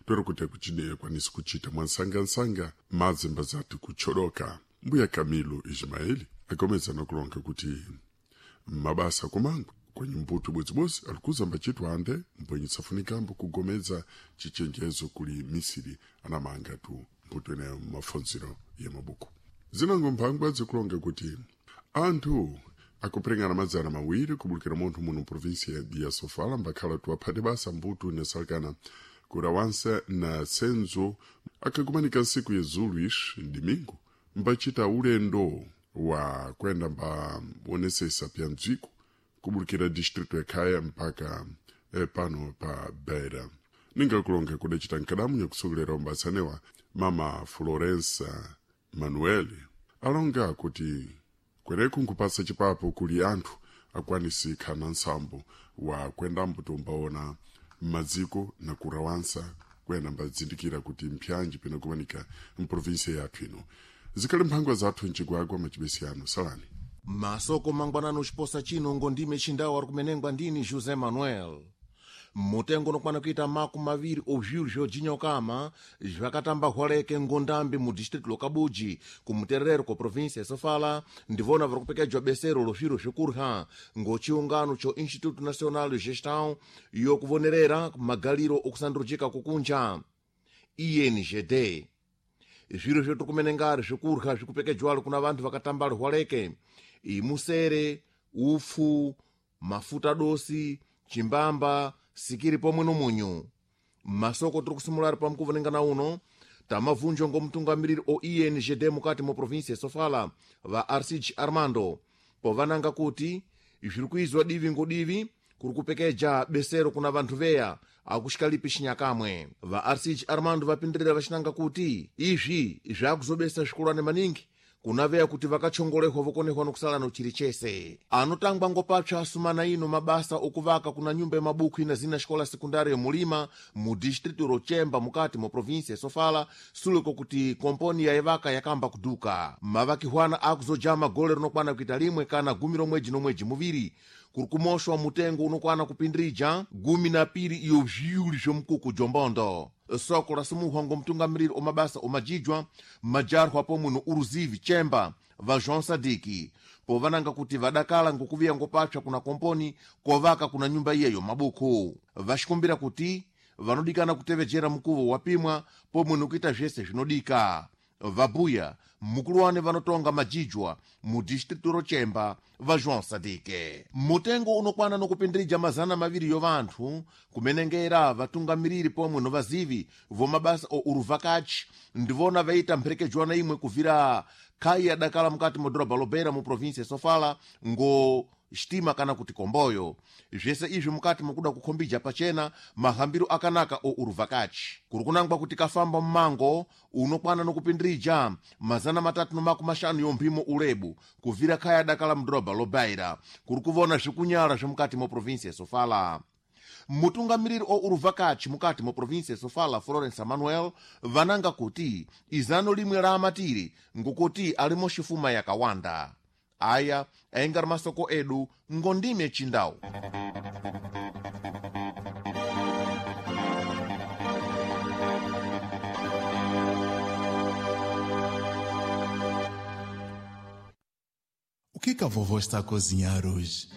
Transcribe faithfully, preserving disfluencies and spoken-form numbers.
Twero kuti akuchine kwanisi kuchita mwansangansanga madzi mbazati kucholoka. Mbuya Camilo Ismaeli akomeza nakulonga kuti mabasa kumangwa kwenye mbuto bwezibwezi alikuza mbachitwa ande mbwenye safunikambo kugomeza chichenjezo kuli misiri anamanga tu mbuto enayo mafonzero ya mabuku. Zinango mphangwa zikulonga kuti anthu akupirengana madzana mawiri kubulukira munthu muno provinsia ya Sofala mbakhala tuwaphate basa mbuto inasalekana kurawansa na senzo akakumanika nsiku ya zulu ixi domingo mbachita ulendo wa kwenda mbaonesesa pya mdziko kubulukira distrito ya Khaya mpaka eh, pano pa Beira. Ninga kulonga kudacita nkadamu nyakusokolera ombasanewa mama Florença Manuel alonga kuti kweneku nkupasa chipapo kuli anthu akwanisi khana nsambo wa kwendambo tombaona m'madziko na kurawansa kwena mbazindikira kuti mpyanji pinakumanika mprovinsia yathu ino. Zikhali mphangwa zathu mchigwagwa machibesi ano salani. Masoko mangwanano chiposa chino ngondime chindawo ari kumenengwa ndini José Manuel. Mutengo unokwana kuita maku maviri ovzviro zvojinyokama zvakatamba hwaleke ngondambi mu distrito lokabuji kumutererero ko provinsia ya Sofala ndivona vari kupekedzwa besero lo zviro zvekurya ngochiungano cho Instituto Nacional de Gestão yokuvonerera magaliro okusandurujika kukunja I N G D. Zviro zvetiri kumenengari zvekurya zvikupekedzwalo kuna vanthu vakatamba hwaleke imusere, upfu, mafuta dosi, chimbamba, sikiri pomwe nomunyu. Masoko tiri kusimulari pamukuvonengana uno tamavunjwa ngomutungamiriri o I N G D mukati mo provinsia ya Sofala va Arcide Armando povananga kuti zviri kuizwa divi ngodivi kuri kupekeja besero kuna vanthu veya akuxikalipi xinyakamwe. Va Arcide Armando vapindirira vaxinanga kuti izvi zvakuzobesa zvikulwane maningi kuna veya kuti vakachongolehwa vokonehwa nokusala no chiri chese. Anotangwa ngopapsa asumana ino mabasa okuvaka kuna nyumba ya mabuku ina zina xikola sekundari ya Mulima mu distrito Rochemba mukati mo provinsia ya Sofala suleko kuti komponi yaivaka yakamba kuduka. Mavakihwana akuzojama gole rinokwana kuita limwe kana gumi romweji nomweji muviri kuri kumoshwa mutengo unokwana kupindirija gumi na piri iyo zviuli zvomukuku jombondo. Soko rasumuhwa ngomutungamiriri omabasa omajijwa majarwa pomwe no uruzivi chemba va João Sadiki povananga kuti vadakala ngokuviya ngopapsa kuna komponi kovaka kuna nyumba iyeyo mabuku. Vaxikumbira kuti vanodikana kutevejera mukuvo wapimwa pomwe nokuita zvese zvinodika. Vabuya mukuluwane vanotonga majijwa mu distrito Rochemba va João Sadike. Mutengo unokwana nokupindirija mazana maviri yo vanthu kumenengera vatungamiriri pomwe no vazivi vomabasa o uruvakachi ndivona vaita mpherekejwana imwe kuvira khai yadakala mukati mo dhorobha Lobeira mu provinsia ya Sofala ngo xitima kana kuti komboyo. Zvese izvi mukati mokuda kukhombija pachena mahambiro akanaka o uruvakachi. Kuri kunangwa kuti kafamba mmango unokwana nokupindirija mazana matatu no makumi maxanu yo mphimo ulebu kuvira khaya dakala mudhorobha Lobeira kuri kuvona zvikunyala zvemukati mo provinsia ya Sofala. Mutungamiriri o uruvakachi mukati mo provinsia ya Sofala Florence Manuel vananga kuti izano limwe la amatiri ngokuti alimo xifuma yakawanda. Aya aingari masoko edu ngondime chindau. O que que a vovó está a cozinhar hoje?